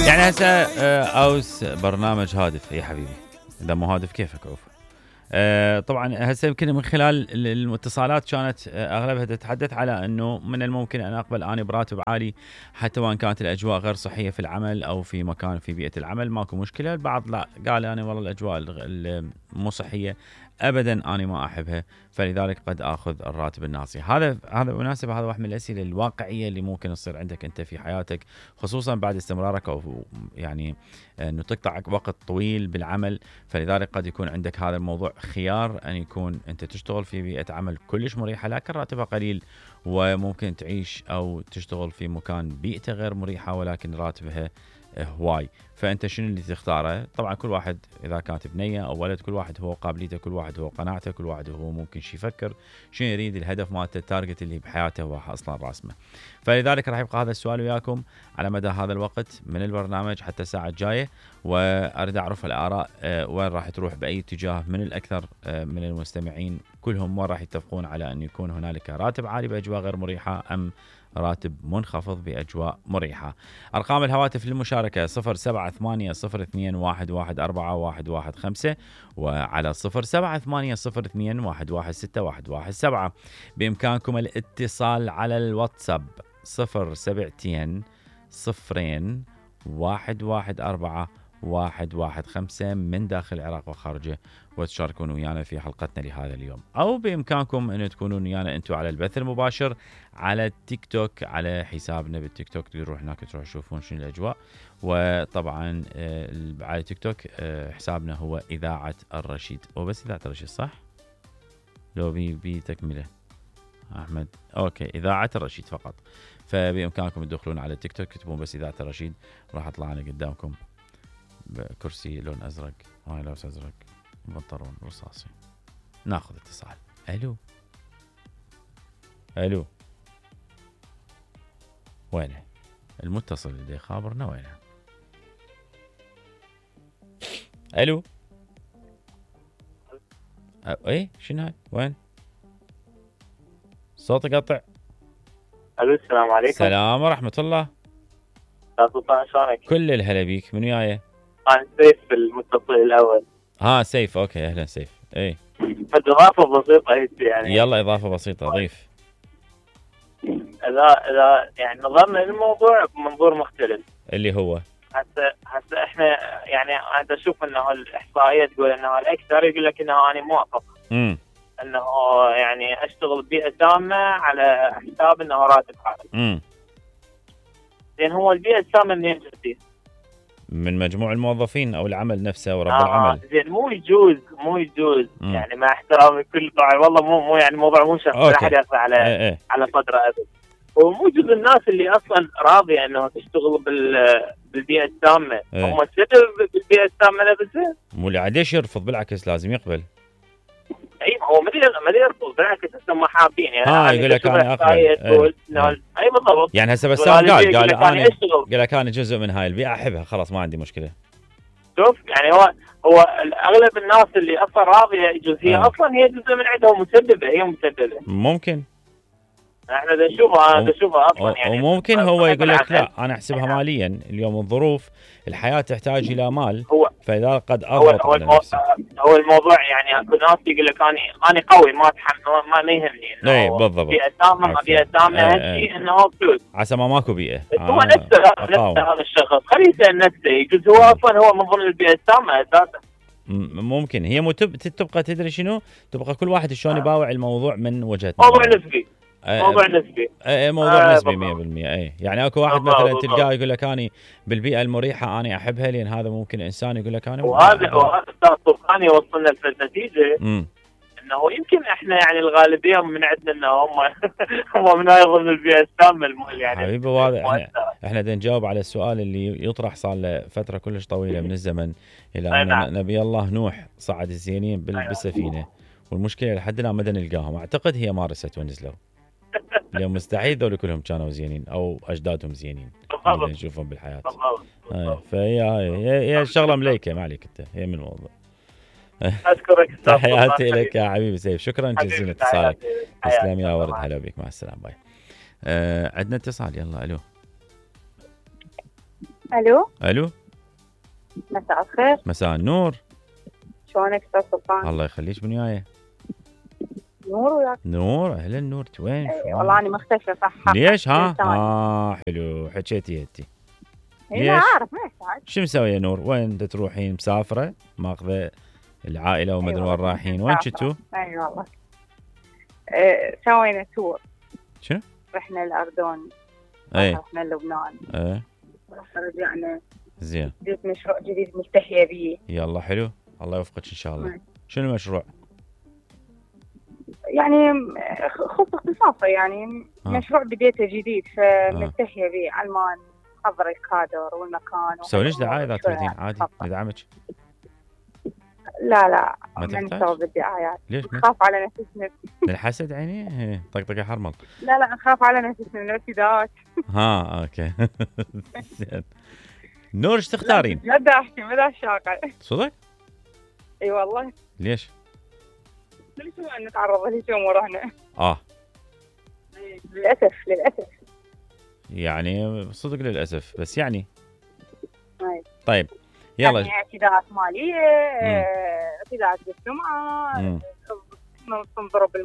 يعني هسه اوس برنامج هادف يا حبيبي، اذا مو هادف كيفك عوف. طبعا هسه يمكن من خلال الاتصالات كانت اغلبها تتحدث على انه من الممكن ان اقبل اني براتب عالي حتى وان كانت الاجواء غير صحيه في العمل او في مكان في بيئه العمل، ماكو مشكله. البعض لا، قال انا والله الاجواء المو صحيه ابدا انا ما احبها، فلذلك قد اخذ الراتب الناصي. هذا بالمناسبه هذا واحد من الاسئله الواقعيه اللي ممكن تصير عندك انت في حياتك، خصوصا بعد استمرارك او يعني انه تقطع وقت طويل بالعمل، فلذلك قد يكون عندك هذا الموضوع خيار ان يكون انت تشتغل في بيئه عمل كلش مريحه لكن راتبها قليل، وممكن تعيش او تشتغل في مكان بيئته غير مريحه ولكن راتبها هواي. فانت شنو اللي تختاره؟ طبعا كل واحد اذا كانت بنيه او ولد، كل واحد هو قابليته، كل واحد هو قناعته، كل واحد هو ممكن شي يفكر شنو يريد، الهدف مالته، التارجت اللي بحياته هو اصلا راسمه. فلذلك راح يبقى هذا السؤال وياكم على مدى هذا الوقت من البرنامج حتى الساعه الجايه، واريد اعرف الاراء وين راح تروح باي اتجاه من الاكثر من المستمعين، كلهم وين راح يتفقون على ان يكون هنالك راتب عالي باجواء غير مريحه ام راتب منخفض بأجواء مريحة. أرقام الهواتف للمشاركة 078021141115 وعلى 078021161117. بإمكانكم الاتصال على الواتساب 072 من داخل العراق وخارجه، وتشاركون ويانا في حلقتنا لهذا اليوم. أو بإمكانكم أن تكونون ويانا أنتم على البث المباشر على التيك توك، على حسابنا بالتيك توك، تروح هناك تروح تشوفون شنو الأجواء. وطبعا على التيك توك حسابنا هو إذاعة الرشيد، وبس إذاعة الرشيد صح؟ لو بتكمله أحمد أوكي، إذاعة الرشيد فقط. فبإمكانكم تدخلون على التيك توك تكتبون بس إذاعة الرشيد، راح أطلع أنا قدامكم بكرسي لون أزرق، هاي لابس أزرق، بنطلون رصاصي. ناخذ اتصال. الو وينه المتصل اللي خابرنا؟ وينه؟ الو ايه شنو هاي؟ وين صوتي قطع؟ الو السلام عليكم. السلام ورحمه الله. سلطان شلونك؟ كل الهلا بيك. من وياي؟ انا سيف المتصل الاول. سيف اوكي، اهلا سيف. ايه اضافه بسيطه هيك يعني. يلا اضافه بسيطه ضيف. اذا يعني نظرنا للموضوع بمنظور مختلف اللي هو هسه احنا يعني انا اشوف انه الاحصائيه تقول انه الاكثر يقول لك انه انا موافق انه يعني اشتغل ببيئه تامه على حساب انه راتب عالي. زين هو البيئه التامه منين جت؟ من مجموع الموظفين او العمل نفسه ورب العمل. زين مو يجوز يعني مع احترامي كل طبعا والله مو يعني موضوع مو شخصي، لا احد يقطع على صدره ابد. وموجود الناس اللي اصلا راضيه انه تشتغل بالبيئه التامه، هم السبب بالبيئه التامه نفسها. مو اللي عاد يرفض، بالعكس لازم يقبل. اي هو ما يرفض، بالعكس هم حابين يعني. يقول لك انا اقبل. اي بالضبط. يعني هسه بسام قال لك انا جزء من هاي البيئه احبها، خلاص ما عندي مشكله. شوف يعني هو اغلب الناس اللي اصلا راضيه يجوز هي اصلا هي جزء من عندهم مسببه ممكن احنا نشوفها اصلا يعني. وممكن هو يقول لك لا انا احسبها ماليا، اليوم الظروف الحياه تحتاج الى مال، فاذا قد اضغط على نفسي. هو الموضوع يعني اكو ناس يقول لك انا قوي ما يهمني. اي بالضبط. بيئه تامه اهم شيء انه فلوس، عسى ما ماكو بيئه. هو نفسه هذا الشخص خليه يسال نفسه، يجوز هو اصلا هو من ضمن البيئه التامه اساسا. ممكن هي تبقى تدري شنو، تبقى كل واحد شلون يباوع الموضوع من وجهه نظره. موضوع نسبي. موضوع نسبي 100%. يعني اكو واحد مثلا تلقاه يقول لك اني بالبيئه المريحه اني احبها، لان هذا ممكن انسان يقول لك انا. وهذا استاذ طوفان يوصلنا للنتيجه انه يمكن احنا يعني الغالبيه من عندنا انه هم من ضمن البيئه التامه يعني. حبيبي واضح احنا بدنا نجاوب على السؤال اللي يطرح صار له فتره كلش طويله من الزمن، الى ان نبي الله نوح صعد الزينين بالسفينه، والمشكله لحد الان ما نلقاهم. اعتقد هي ما رست ونزلوا. اليوم مستحيل ذول كلهم كانوا زينين او اجدادهم زينين نشوفهم بالحياه. فهي الشغله مليكه، ما عليك انت، هي من الموضوع. اشكرك. تحياتي لك يا حبيبي سيف، شكرا جزيلا اتصالك. تسلم يا ورد، هلا بك، مع السلامه باي. عندنا اتصال، يلا الو الو مساء الخير. مساء النور. شلونك استاذ سلطان؟ الله يخليك، من وياي؟ نور وياك. نور، اهلا نور، وين؟ والله انا مختفيه صح. ليش حلو حكيتي انتي. لا اعرف ما يحتاج. شو مسويه نور؟ وين تروحين؟ مسافره؟ ماخذه العائله وما ادري وين رايحين؟ وين كنتوا؟ اي والله سوينا تور. شنو؟ رحنا الاردن، رحنا لبنان، رجعنا. زين. جبت مشروع جديد ملتهيه به. يلا حلو، الله يوفقك ان شاء الله. شنو المشروع؟ يعني خطة اختصاصي، يعني مشروع بديته جديد فملتهيه به على ما نحضر الكادر والمكان. سوي ليش دعايه اذا تريدين عادي ندعمك. لا ما نسوي بالدعايات. ليش؟ نخاف على نفسنا. الحسد عيني طقطقه حرمل. لا نخاف على نفسنا من الارتداد. اوكي. زين. نور ايش تختارين؟ لا بدي احكي ما شاقه. صدق؟ اي والله. ليش؟ ليش ما نتعرض لهيك امور هنا؟ للاسف يعني صدق للاسف، بس يعني طيب يلا. يعني اعتداءات ماليه، اعتداءات بالسمعه، تنضرب